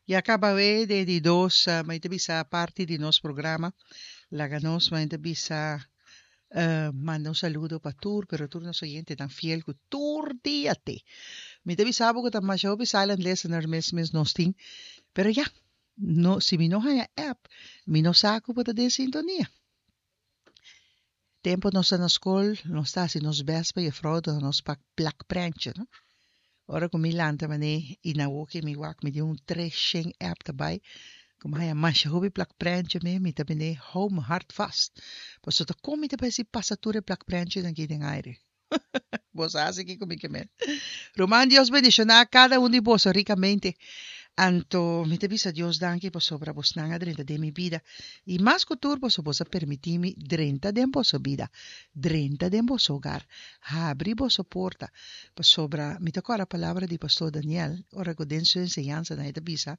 Ya caba we den di dos mi ta bisa parti di nos programa. Laga nos mi ta bisa manda un saludo pa tur pero tur nos oyentenan fiel cu tur dia te. Mi ta bisa bo cu ta masha hopi silent listener mes mes nos tin pero ya no si mi no haya app mi no sa cu bo ta den sintonia. Tempo nos ta na skol, nos ta hasi nos best pa juffrouw duna nos pak plak prentje, no? Ora ku mi lanta manera i na woki mi wak mi di un tres shen app ta bai, ku mi haña masha hopi plak prentje mi, mi ta bini hou mi hart vast. Pasobra ta kon mi ta bai si pasa tur e plak prentjenan aki den aire? Bo sa hasi kiko mi ke men. Ruman Dios bendishoná kada un di boso rikamente. Anto mi ta bisa Dios danki pasobra bosnan a drenta den mi bida. I mas ku tur boso bos a permití mi drenta den boso bida, drenta den boso hogar, habri boso porta. Pasobra mi ta kòrda palabra di Pastor Daniel ora ku den su enseñansanan e ta bisa,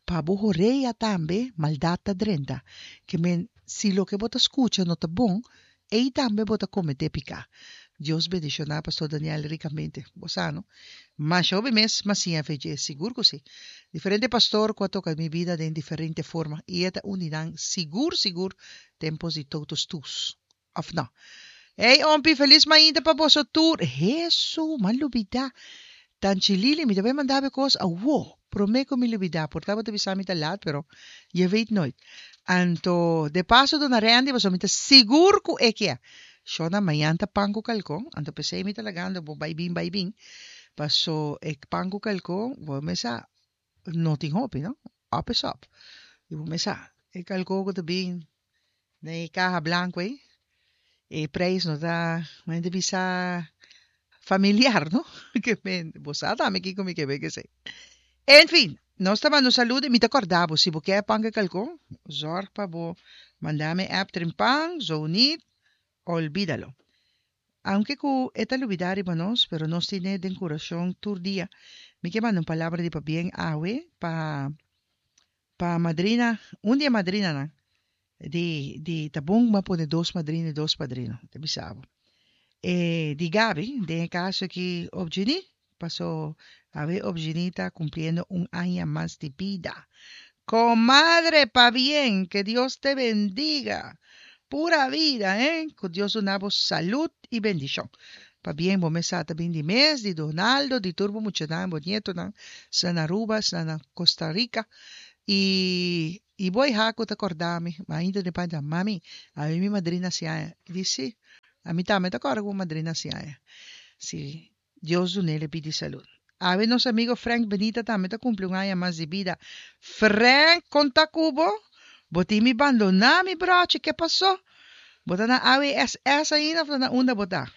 Pa bo horea tambe maldat ta drenta. Ke men si loke bo ta skucha no ta bon, Ei tambe bo ta kometé piká. Dios bendishoná Pastor Daniel rikamente. Bo sa no? Masha hopi mes m'a siña fe dje, sigur ku si. Diferente pastor ku a toka mi bida den diferente forma i e ta un di nan sigur sigur tempos di totus tus. Òf no? Ey Ompi, felis mainta pa boso tur. Hesu, m'a lubidá. Tanchi Lili, mi ta bai manda bo e kos awo, promé ku mi lubidá. Por ta bo ta bisa mi ta lat, pero je weet nooit. Anto, de paso duna Randy, pasobra mi ta sigur ku e kia. Shona, mañan ta pan ku kalkon, anto p'esei mi ta lagando bo bai bin bai bin, paso e pan ku kalkon, bo mes sa, no tin hopi, no? Op is op. I bo mes sa, e kalkon ku ta bin den e kaha blanku ei, e prijs no ta, men ta bisa familiar, no? Ke men, bo sa tambe kiko mi ke be kesei. En fin, nos ta manda un saludo i mi ta kòrda bo, si bo ke pan ke kalkon, zòrg pa bo manda mi app Trimpan, zo niet, olvídalo. Aunke ku e ta lubidá riba nos, pero nos tin'é den kurashon tur dia. Mi ke manda un palabra di pabien awe pa Pa madrina, un di e madrinanan di di ta bon bo a pone dos madrina i dos padrino, ta bisa bo. E di Gaby, den e kaso aki Opgenie, paso awe Opgenie ta kumpliendo un aña mas di bida. Comadre, pabien, que Dios te bendiga. Pura vida, eh! Ku Dios duna bo salud i bendishon. Pabien bo mes sa ta bin di mes, di Donaldo, di tur bo muchanan, bo nietonan, esnan na Aruba, esnan na Costa Rica. I i bo iha ku ta kòrda mi, ma ainda den panja, Mami, ami mi madrina hasi aña. I di, Si, ami tambe ta kòrda ku bo madrina hasi aña. Si, Dios dun'é le pidi salud. Awe nos amigo Frank Benita tambe ta kumpli un aña mas di bida. Frank, kon ta ku bo? Bo tin mi bandoná, mi brochi, ke pasó? Bo ta na AWSS ainda of ta na unda bo ta?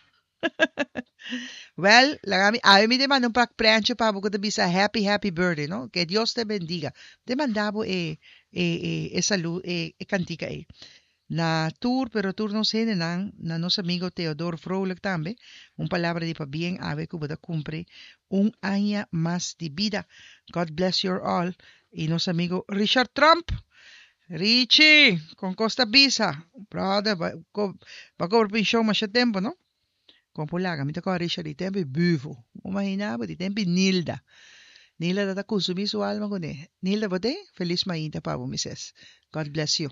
Wel, laga mi, awe mi te manda un pak prentje pa bo ku ta bisa happy happy birthday, no? Que Dios te bendiga. Te manda bo e e e e salu e e kantika ei. Na tur, pero tur nos hendenan, na nos amigo Theodor Vrolijk tambe, un palabra di pabien awe ku bo ta kumpri un aña mas di bida. God bless your all. I nos amigo Richard Tromp. Richie, kon kos ta bisa? Brother, ba ba kobra penshon masha tempu, no? Kon por laga? Mi ta kòrda Richard di tempu i Buvo. Bo imagina bo di tempu i Nilda. Nilda ta ta kunsumí su alma kuné. Nilda, bo t'ei? Felis mainta pa bo, mi ses. God bless you.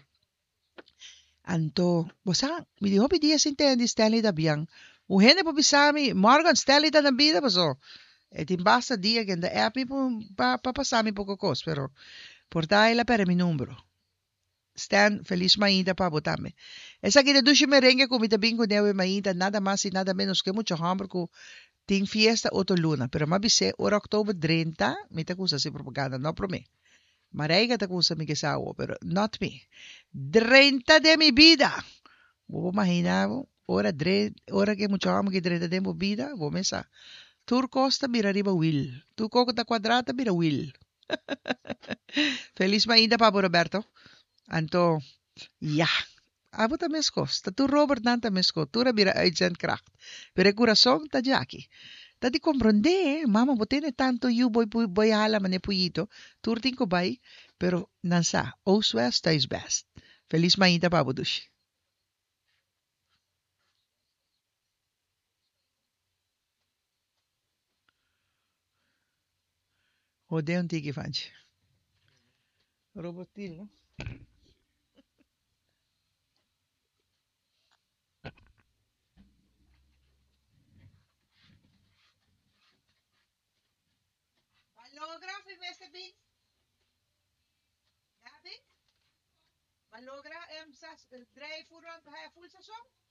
Anto, bo sa, mi di hopi dia sin tende di Stanley Dabian. Un hende por bisa mi, Morgan, Stanley ta na bida paso e tin basta dia ku e ta app mi pa pa pasa mi poko kos, pero por ta el a perde mi numero. Stan, felis mainta pa bo tambe. Esaki ta dushi merengue ku mi ta bin kuné awe mainta, nada mas i nada menos ku e mucha hòmber ku tin fiesta otro luna, pero m'a bis'é ora òktober drenta mi ta kusa hasi propaganda, no promé. Marijke ta kusa mi kisa awo, pero not mi. Drenta den mi bida! Bo por mahina bo, ora dre, ora ke mucha hòmber ke drenta den bo bida, bo mes sa. Tur kos ta bira riba wil. Tur kos ku ta kuadrá ta bira wil. Felis mainta pa bo Roberto. Anto, ya. Abo ta meskos. Ta tur Robertnan ta meskos. Tur a bira uitzendkracht. Pero e kurason ta djaki. Ta di komprondé, mama bo tene tantu yu bo bo hala manera puyito. Tur tin ku bai, pero nan sa, oost west, thuis best. Felis mainta pa bo dushi. Hode un tiki fanchi. Robotil, no? Ba logra fi mester bin? Gabi? Ba logra em sas drei full rond haya full sazon?